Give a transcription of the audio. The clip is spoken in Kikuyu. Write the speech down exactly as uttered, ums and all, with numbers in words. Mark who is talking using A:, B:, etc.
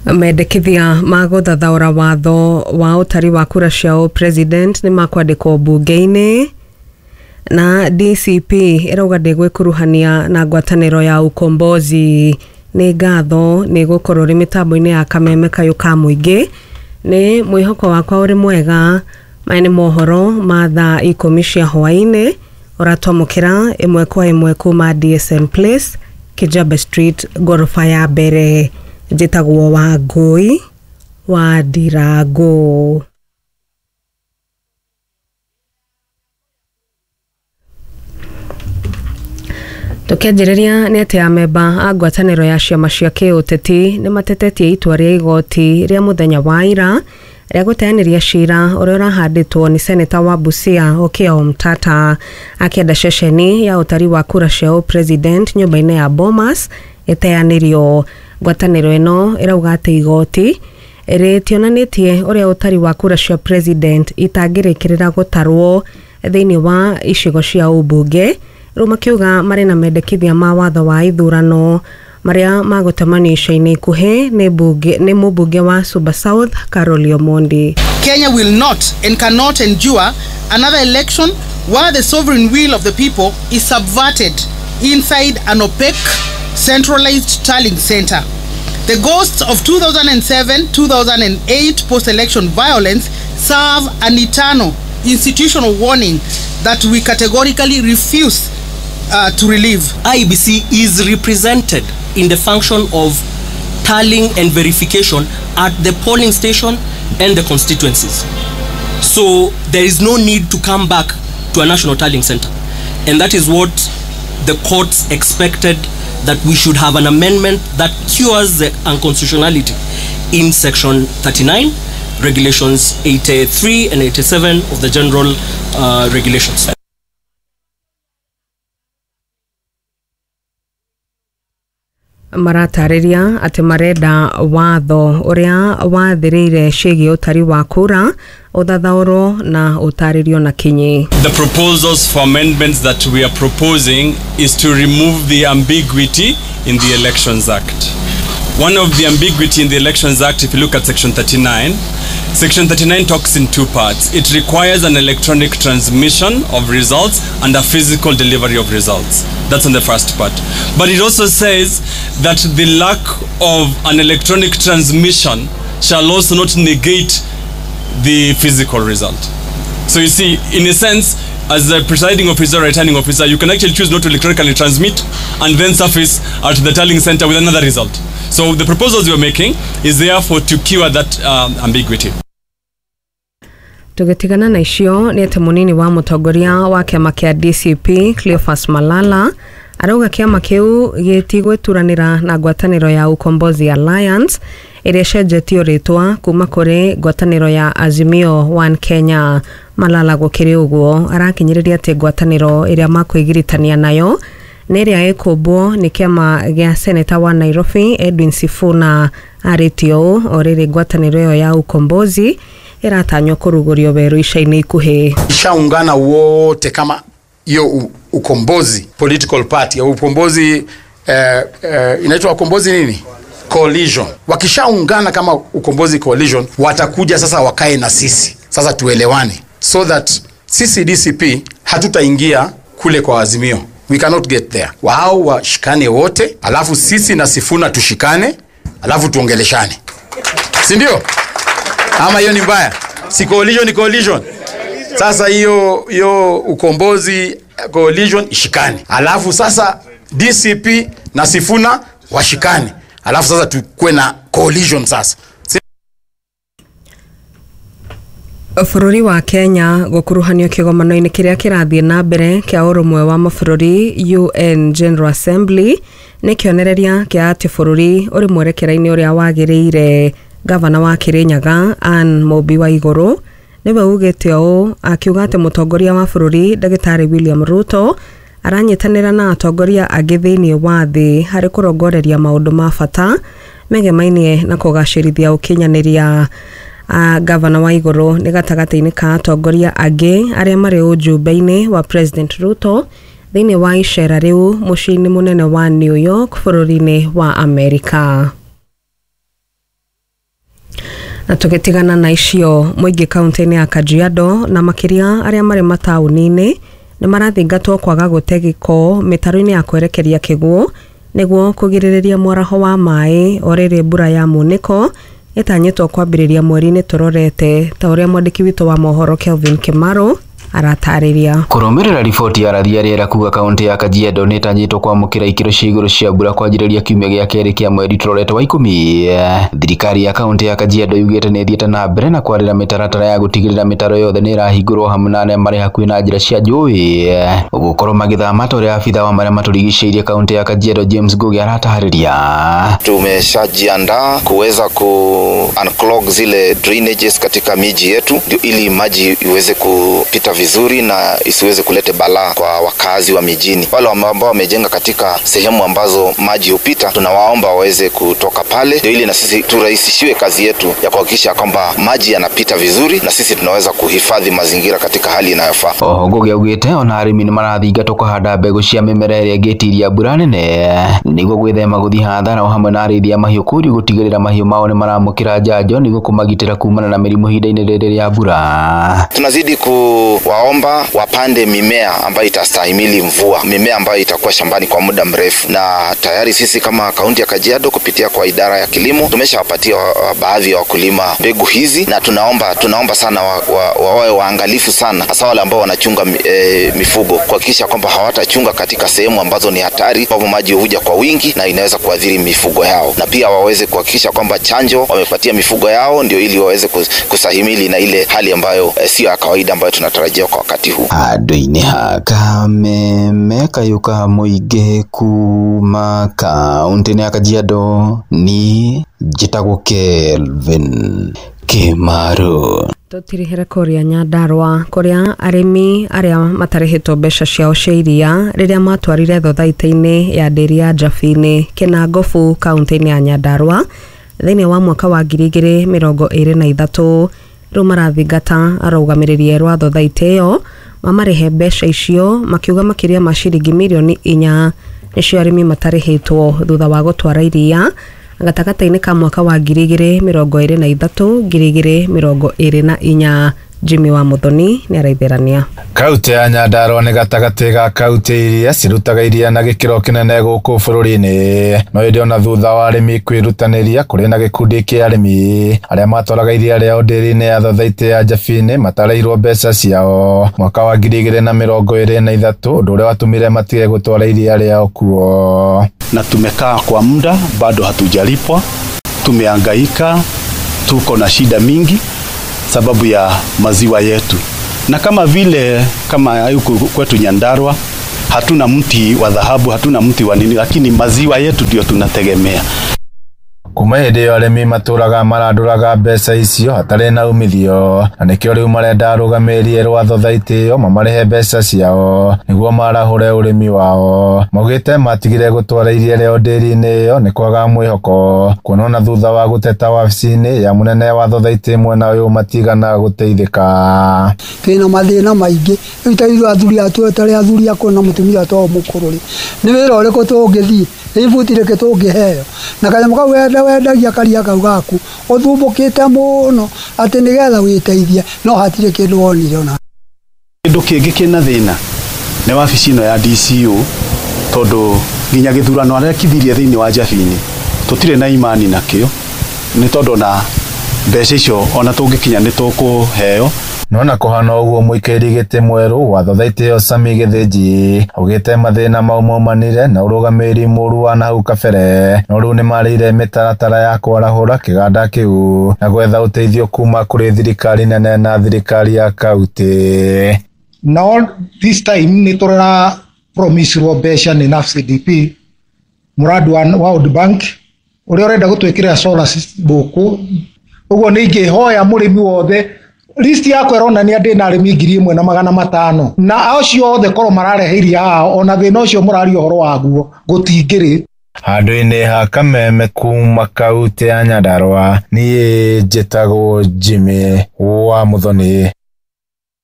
A: Mendekithia ma gũthathaũra watho wa ũtari wa kura cia president nĩ makwandĩkwo mbunge-inĩ. Na D C P ĩrauga ndĩgwĩkuruhania na ngwatanĩro ya ukombozi. Nĩ ngatho nĩ gũkorwo rĩ mĩtambo-inĩ ya kameme kayũ ka mũingĩ. Nĩ mwĩhoko wakwa ũrĩ mwega. Maya nĩ mohoro ma thaa ikũmi cia hwaĩ-inĩ ũratwamũkĩra ĩmwe kwa ĩmwe kuma D S M Place, Kijabe Street, ngoroba ya mbere. Njĩtagwo Wangũi wa Ndirango. Tũkĩanjĩrĩria nĩ atĩ amemba a ngwatanĩro ya ciama cia kĩũteti nĩ matetetie itua rĩa igoti rĩa mũthenya wa ira rĩa gũteanĩria cira ũrĩa ũrahandĩtwo nĩ seneta wa Busia Okiya Omtatah akĩenda ceceni ya ũtari wa kura cia president nyũmba-inĩ ya Bomas ĩteanĩrio. Ngwatanĩro ĩno ĩrauga atĩ igoti rĩtionanĩtie ũrĩa ũtari wa kura cia president itangĩrĩkĩrĩra gũtarwo thĩinĩ wa icigo cia ũmbunge. Rĩu makiuga marĩ na mendekithia ma watho wa ithurano marĩa magũtemanio ica-inĩ ikuhĩ nĩ mbunge nĩ mũmbunge wa Suba South Carol Omondi.
B: Kenya will not and cannot endure another election where the sovereign will of the people is subverted inside an opaque centralized tallying center. The ghosts of two thousand seven two thousand eight post-election violence serve an eternal institutional warning that we categorically refuse uh, to relive.
C: I B C is represented in the function of tallying and verification at the polling station and the constituencies. So there is no need to come back to a national tallying center. And that is what the courts expected, that we should have an amendment that cures the unconstitutionality in section thirty-nine, regulations eighty-three and eighty-seven of the general uh, regulations.
A: Maratarĩria atĩ marenda watho ũrĩa wathĩrĩire ciĩgiĩ ũtari wa kura ũthathaũrwo na ũtarĩrio na kinyi.
D: The proposals for amendments that we are proposing is to remove the ambiguity in the Elections Act. One of the ambiguity in the Elections Act, if you look at section thirty-nine, section thirty-nine talks in two parts. It requires an electronic transmission of results and a physical delivery of results. That's on the first part. But it also says that the lack of an electronic transmission shall also not negate the physical result. So you see, in a sense, as a presiding officer or returning officer, you can actually choose not to electronically transmit and then surface at the tallying center with another result. So the proposals we're making is therefore to cure that um, ambiguity.
A: Tũgĩtigana na icio nĩ atĩ mũnini wa mũtongoria wa kĩama kĩa D C P Cleophas Malala arauga kĩama kĩu gĩtigwĩturanĩra na ngwatanĩro ya Ukombozi Alliance ĩrĩa ĩcenjetio rĩtwa kuma kũrĩ ngwatanĩro ya Azimio One Kenya. Malala gũkĩrĩ ũguo arakinyĩrĩria atĩ ngwatanĩro ĩrĩa makwĩgiritania nayo nĩ ĩrĩa ĩkũmbwo nĩ kĩama gĩa seneta wa Nairobi Edwin Sifuna. Arĩtie ũũ o rĩrĩ ngwatanĩro ĩyo ya Ukombozi ĩratanywo kũrugũrio werũ ica-inĩ ikuhĩ.
E: Ishaungana wote kama hiyo Ukombozi political party au Ukombozi eh, eh, inaitwa Ukombozi nini? Coalition. Wakishaungana kama Ukombozi Coalition watakuja sasa wakae na sisi. Sasa tuelewane so that sisi D C P hatutaingia kule kwa Azimio. We cannot get there. Wao washikane wote, alafu sisi na Sifuna tushikane, alafu tuongeleshane. Si ndio? Ama hiyo ni mbaya? Si coalition ni coalition. Sasa hiyo hiyo Ukombozi Coalition ishikane. Alafu sasa D C P na Sifuna washikane. Alafu sasa tukue na coalition sasa.
A: Bũrũri wa Kenya gũkuruhanio kĩgomano-inĩ kĩrĩa kĩrathiĩ na mbere kĩa ũrũmwe wa mabũrũri U N General Assembly nĩ kĩonereria kĩa atĩ bũrũri ũrĩ mwerekera-inĩ ũrĩa wagĩrĩire. Gavana wa Kirinyaga Anne Mũmbi wa Igũrũ nĩwe ugĩte ũũ akiuga atĩ mũtongoria wa bũrũri Ndagĩtarĩ William Ruto aranyitanĩra na atongoria angĩ thĩinĩ wa thĩ harĩ kũrongoreria maũndũ ma bata megemainie na kũgacĩrithia ũkinyanĩria. A gavana wa Igũrũ nĩ gatagatĩ-inĩ ka atongoria angĩ arĩa marĩ ũjumbe-inĩ wa President Ruto thĩinĩ wa icera rĩu mũciĩ-inĩ mũnene wa New York bũrũri-inĩ wa Amerika. Na tũgĩtigana na icio, mũingĩ kaunti-inĩ ya Kajiado na makĩria arĩa marĩ mataũni-inĩ nĩ marathingatwo kwaga gũte gĩko mĩtaro-inĩ ya kwerekeria kĩguũ nĩguo kũgirĩrĩria mwaraho wa maĩ o rĩrĩ mbura ya munĩko ĩtanyĩtwo kwambĩrĩria mweri-inĩ tũrorete, ta ũrĩa mwandĩki witũ wa mohoro Kelvin Kimaro aratarĩria.
F: Kũrũmĩrĩra riboti ya rathi ya rĩera kuga kaunti ya Kajiado nĩ ĩtanyĩtwo kwamũkĩra ikĩro cia igũrũ cia mbura kwanjĩrĩria kiumia gĩa kerĩ kĩa mweri tũrorete wa ikũmi. Thirikari ya kaunti ya Kajiado yugĩte nĩ ĩthiĩte na mbere na kwarĩra mĩtaratara ya gũtigĩrĩra mĩtaro yothe nĩ ĩrahingũrwo hamwe na arĩa marĩ hakuhĩ na njĩra cia njũĩ gũkorwo magĩthama, ta ũrĩa abitha wa marĩa matũrigicĩirie kaunti ya Kajiado James Ngugi aratarĩria.
G: Tumeshajiandaa kuweza ku unclog zile drainages katika miji yetu ndio ili maji iweze kupita vizuri na isiweze kulete balaa kwa wakazi wa mijini. Wale ambao wamejenga katika sehemu ambazo maji hupita, tunawaomba waweze kutoka pale ndio ili na sisi turahisishiwe kazi yetu ya kuhakikisha kwamba maji yanapita vizuri na sisi tunaweza kuhifadhi mazingira katika hali inayofaa.
F: Oho Ngugi augĩte ona arĩmi nĩ marathingatwo kũhanda mbegũ cia mĩmera ĩrĩa ĩngĩtiria mbura nene nĩguo gwĩthema gũthiĩ hathara, o hamwe na arĩithi a mahiũ kũũrio gũtigĩrĩra mahiũ mao nĩ maramũkĩra njanjo nĩguo kũmagitĩra kumana na mĩrimũ ihinda-inĩ rĩrĩ rĩa mbura.
G: Tunazidi kuwaomba wapande mimea ambayo itastahimili mvua, mimea ambayo itakuwa shambani kwa muda mrefu, na tayari sisi kama kaunti ya Kajiado kupitia kwa idara ya kilimo tumeshawapatia baadhi ya wakulima mbegu hizi, na tunaomba tunaomba sana wawe wa, wa, waangalifu sana, hasa wale ambao wanachunga e, mifugo, kuhakikisha kwamba hawatachunga katika sehemu ambazo ni hatari, ambapo maji huja kwa wingi na inaweza kuathiri mifugo yao, na pia waweze kuhakikisha kwamba chanjo wamepatia mifugo yao ndio ili waweze kusahimili na ile hali ambayo e, sio ya kawaida ambayo tunatarajia kwa wakati huu.
F: Handũ-inĩ ha Kameme kayũ ka mũingĩ kuma kaunti-inĩ ya Kajiado ni njĩtagwo Kelvin Kimaro.
A: Tũtirihere kũrĩa Nyandarua kũrĩa arĩmi arĩa matarĩhĩtwo mbeca ciao cia iria rĩrĩa matwarire thothaitĩ-inĩ ya ndĩri ya Njabini Kĩnangobu kaunti-inĩ ya Nyandarua thĩinĩ wa mwaka wa ngiri igĩrĩ mĩrongo ĩrĩ na ithatũ rĩu marathingata arũgamĩrĩri erũ a thothaitĩ ĩyo mamarĩhe mbeca icio, makiuga makĩria ma ciringi mirioni inya nĩcio arĩmi matarĩhĩtwo thutha wa gũtwara iria gatagatĩ-inĩ ka mwaka wa ngiri igĩrĩ mĩrongo ĩrĩ na ithatũ ngiri igĩrĩ mĩrongo ĩrĩ na inya. Jimmy wa Muthoni nĩ araitherania.
H: Kaunti ya Nyandarua nĩ gatagatĩ ga kaunti iria cirutaga iria na gĩkĩro kĩnene gũkũ bũrũri-inĩ, no ĩndĩ ona thutha wa arĩmi kwĩrutanĩria kũrĩ na gĩkundi kĩa arĩmi arĩa matwaraga iria rĩao ndĩri-inĩ ya thothaitĩ ya Njabini matarĩirwo mbeca ciao mwaka wa ngiri igĩrĩ na mĩrongo ĩrĩ na ithatũ, ũndũ ũrĩa watũmire matige gũtwara iria rĩao kuo.
I: Na tumekaa kwa muda bado hatujalipwa, tumehangaika, tuko na shida mingi sababu ya maziwa yetu. Na kama vile kama huku kwetu Nyandarua hatuna mti wa dhahabu, hatuna mti wa nini, lakini maziwa yetu ndio tunategemea.
H: Kuma hĩndĩ ĩyo arĩmi matũraga marandũraga mbeca icio hatarĩ na umithio, na nĩkĩo rĩu marenda arũgamĩrĩri erũ a thothaitĩ ĩyo mamarĩhe mbeca ciao nĩguo marahũre ũrĩmi wao. Maugĩte matigire gũtwara iria rĩao ndĩri-inĩ ĩyo nĩ kwaga mwĩhoko, kuona ona thutha wa gũteta wabici-inĩ ya mũnene wa thothaitĩ mwena ũyũ matigana gũteithĩka.
J: Twĩna mathĩna maingĩ rĩu ta ithuĩ athuri atũ tarĩ athuri akũrũ na mũtumia to mũkũrũ rĩ, nĩ wĩra ũrĩkũ tũngĩthiĩ, nĩ ibuti rĩkĩ tũngĩheo, na kanyamũ kau wenda wendagia karia kau gaku ũthumbũkĩte mũno atĩ nĩgetha wĩteithie, no hatirĩ kĩndũ wonire ona.
I: Kĩndũ kĩngĩ kĩna thĩna nĩ wabici ĩno ya D C O, tondũ nginya gĩthurano arekithirie thĩinĩ wa Njabini tũtirĩ na imani nakĩo, nĩ tondũ na mbeca icio ona tũngĩkinya nĩ tũkũheo.
H: Nona kũhana ũguo mũikarĩri gĩtĩ mwerũ wa thothaitĩ ĩyo Sami Gĩthĩnji augĩte mathĩna mau maumanire na ũrũgamĩrĩri mũru wa nahau kabere, no rĩu nĩmarĩire mĩtaratara ya kwarahũra kĩganda kĩu na gwetha ũteithio kuma kũrĩ thirikari nene na thirikari ya kaunti.
K: No this time nĩ tũrera promise-rwo mbeca nĩ N A F C D P mũrandi wa World Bank ũrĩa ũrenda gũtwĩkĩrĩra solar gũkũ. Ũguo nĩ ingĩhoya mũrĩmi wothe list yakwa ĩronania ndĩ na arĩmi ngiri ĩmwe na magana matano, na acio othe korwo mararehe iria haha ona thĩna ũcio mũraria ũhoro waguo gũtingĩrĩ.
H: Handũ-inĩ ha Kameme kuma kaunti ya Nyandarua, niĩ njĩtagwo Jimmy wa Muthoni.